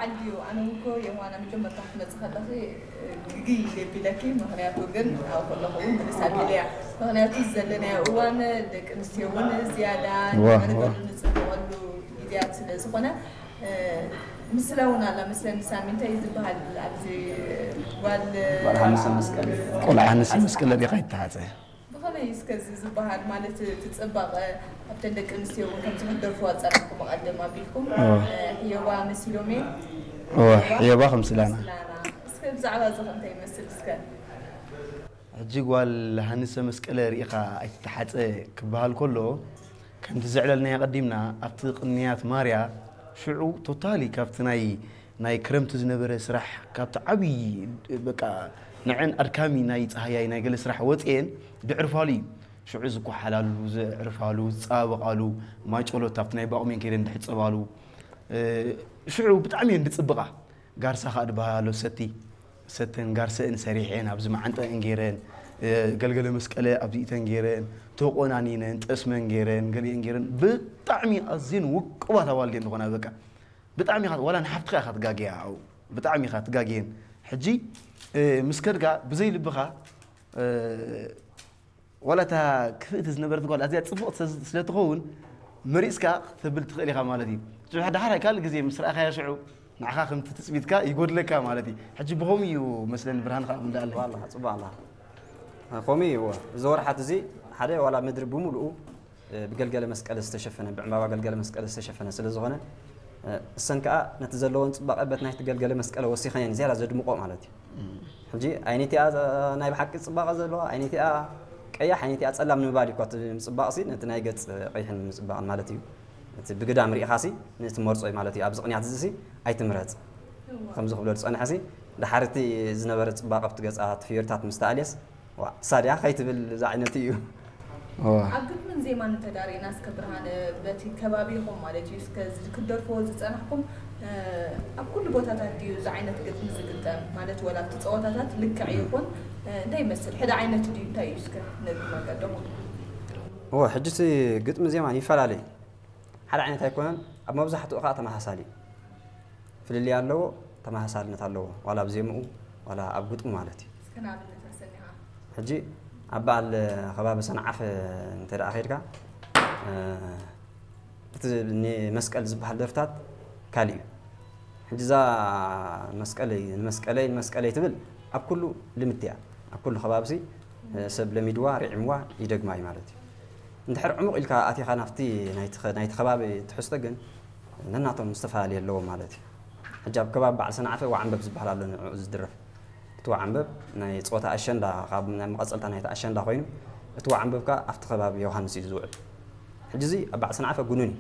ዓልዩ ኣነ እኮ የማና መጀመርታ ክትመጽእ ከለኺ ግግይ ኢለ ቢለኪ። ምኽንያቱ ግን ኣብ ከለኹ እውን ምልስ ኣቢለያ። ምኽንያቱ ዘለናዮ እዋን ደቂ ኣንስትዮ እውን ዝያዳ ዋ፣ ንዕንገሉ ዋ። ንጽብቐሉ ግዜያት ስለ ዝኾነ፣ ምስላ እውን ኣላ መስለኒ። ሳሚ እንታይ እዩ ዝበሃል ኣብዚ ጓል ጓል ሓንሰ መስቀል። ቆልዓ ሓንሰ መስቀል ሪኻ ይተሓፀ። ብኸመይ እስከ እዚ ዝበሃል ማለት እቲ ጽባቐ ኣብተን ደቂ ኣንስትዮ እውን ከምዚ ክትደርፍዋ ዝጸናሕኩም ብቐደም ኣቢልኩም ሕየዋ መሲሎም እየ። እወ፣ ሕየዋ ከምስላና። ምስላና። እስከ ብዛዕባ እዚ ከ እንታይ ይመስል እስከ? ሕጂ ጓል ሃንሰ መስቀለ ርኢኻ ኣይትተሓፀ ክበሃል ከሎ ከምቲ ዘዕለልናዮ ቀዲምና ኣብቲ ቅንያት ማርያ ሽዑ ቶታሊ ካብቲ ናይ ናይ ክረምቲ ዝነበረ ስራሕ ካብቲ ዓብዪ በቃ ንዕን ኣድካሚ ናይ ፀሃያይ ናይ ገለ ስራሕ ወፅኤን ድዕርፋሉ እዩ። ሽዑ ዝኳሓላሉ፣ ዝዕርፋሉ፣ ዝፀባበቓሉ፣ ማይ ጨሎት ኣብቲ ናይ ባቑሜን ከይደን ድሕፀባሉ፣ ሽዑ ብጣዕሚ እየን ድፅብቓ። ጋርሳ ከዓ ድበሃሎ ሰቲ፣ ሰተን ጋርሰእን ሰሪሐን ኣብዚ መዓንጠአን ገይረን፣ ገልገለ መስቀለ ኣብዚእተን ገይረን፣ ተቆናኒነን፣ ጠስመን ገይረን፣ ገሊአን ገይረን፣ ብጣዕሚ ኣዝየን ውቁባት ኣዋልድ እየን ዝኾና በቃ። ብጣዕሚ ኢኻ፣ ዋላ ንሓፍትኻ ኢኻ ትጋገያ፣ ኣብኡ ብጣዕሚ ኢኻ ትጋገየን። ሕጂ ምስ ከድካ ብዘይ ልብኻ፣ ዋላ እታ ክፍእቲ ዝነበረት ጓል ኣዝያ ጽብቕቲ ስለ ትኸውን መሪጽካ ክትብል ትኽእል ኢኻ ማለት እዩ። ሽዑ ደሓር ካልእ ግዜ ምስ ረኣኻያ ሽዑ ንዓኻ ከምቲ ትጽቢትካ ይጎድለካ ማለት እዩ። ሕጂ ብኸምኡ እዩ መስለኒ ብርሃንኻ ኣብ እንዳኣለ። ዋላ ጽቡቕ ኣላ። ከምኡ እዩ። እዚ ወርሓት እዚ ሓደ ዋላ ምድሪ ብምሉኡ ብገልገለ መስቀል ዝተሸፈነ፣ ብዕምባባ ገልገለ መስቀል ዝተሸፈነ ስለ ዝኾነ፣ እሰን ከኣ ነቲ ዘለዎን ጽባቐ በቲ ናይቲ ገልገለ መስቀል ወሲኸን እየን ዝያዳ ዘድምቆ ማለት እዩ። ሕጂ ዓይነይቲኣ ናይ ብሓቂ ጽባቐ ዘለዋ፣ ዓይነይቲኣ ቀያሕ፣ ዓይነይቲኣ ጸላም ንምባል እዩ እኳ እቲ ምጽባቕሲ፣ ነቲ ናይ ገጽ ቀይሕን ምጽባቕን ማለት እዩ። እቲ ብግዳም ርኢኻሲ ነቲ መርጾ እዩ ማለት እዩ። ኣብዚ ቅንያት እዚሲ ኣይትምረጽ። ከምዚ ክብሎ ዝጸንሐሲ፣ ድሓር እቲ ዝነበረ ጽባቐ ኣብቲ ገጻ፣ እቲ ፍዮሪታት ምስ ተኣልየስ፣ ዋ፣ እሳ ድያ ከይትብል ዝዓይነቱ እዩ። እዋ። ኣብ ግጥምን ዜማን እንተዳሪእና እስከ ብርሃነ፣ በቲ ከባቢኹም ማለት እዩ፣ እስከ ዝ-፣ ክትደርፍዎ ዝጸናሕኩም፣ እ፣ ኣብ ኩሉ ቦታታት ድዩ እዚ ዓይነት ግጥሚ ዝግጠም? ማለት ወላ ኣብቲ ጸወታታት ልክዕ ይኹን፣ እ፣ እንታይ ይመስል? ሕደ ዓይነት ድዩ? እንታይ እዩ እስከ ነግርና ቀደሙ? እወ፣ ሕጂ እቲ ግጥሚ ዜማን ይፈላለ እዩ። ሓደ ዓይነት ኣይኮነን፣ ኣብ መብዛሕትኡ ከኣ ተመሳሳሊ እዩ። ፍልልይ ኣለዎ፣ ተመሳሳልነት ኣለዎ፣ ዋላ ኣብ ዜምኡ ዋላ ኣብ ግጥሙ ማለት እዩ። እስከ ንኣብነት ኣሰኒኻ። ሕጂ ኣብ በዓል ከባቢ ሰንዓፈ እንተ ደኣ ኸይድካ፣ እ፣ እቲ ንመስቀል ዝበሃል ደርፍታት ካልእ እዩ። ሕጂ እዛ መስቀለይ፣ ንመስቀለይ፣ ንመስቀለይ ትብል ኣብ ኩሉ ልምድ እያ። ኣብ ኩሉ ከባቢሲ፣ እ፣ ሰብ ለሚድዋ፣ ርዒምዋ፣ ይደግማ እዩ ማለት እዩ። እንድሕር ዕሙቕ ኢልካ ኣቲኻ ናብቲ ናይቲ ኸ-፣ ናይቲ ከባቢ ትሕዝቶ ግን ነናቶም ዝተፈላለየ ኣለዎም ማለት እዩ። ሕጂ ኣብ ከባቢ በዓል ሰንዓፈ ወዓንበብ ዝበሃል ኣሎ ንዕኡ ዝድረፍ። እቲ ወዓንበብ ናይ ጸወታ ኣሸንዳ፣ ካብ ናይ መቐጸልታ ናይቲ ኣሸንዳ ኮይኑ፣ እቲ ወዓንበብ ከኣ ኣብቲ ከባቢ ዮሃንስ እዩ ዝውዕል። ሕጂ እዚ ኣብ በዓል ሰንዓፈ ግኑን እዩ።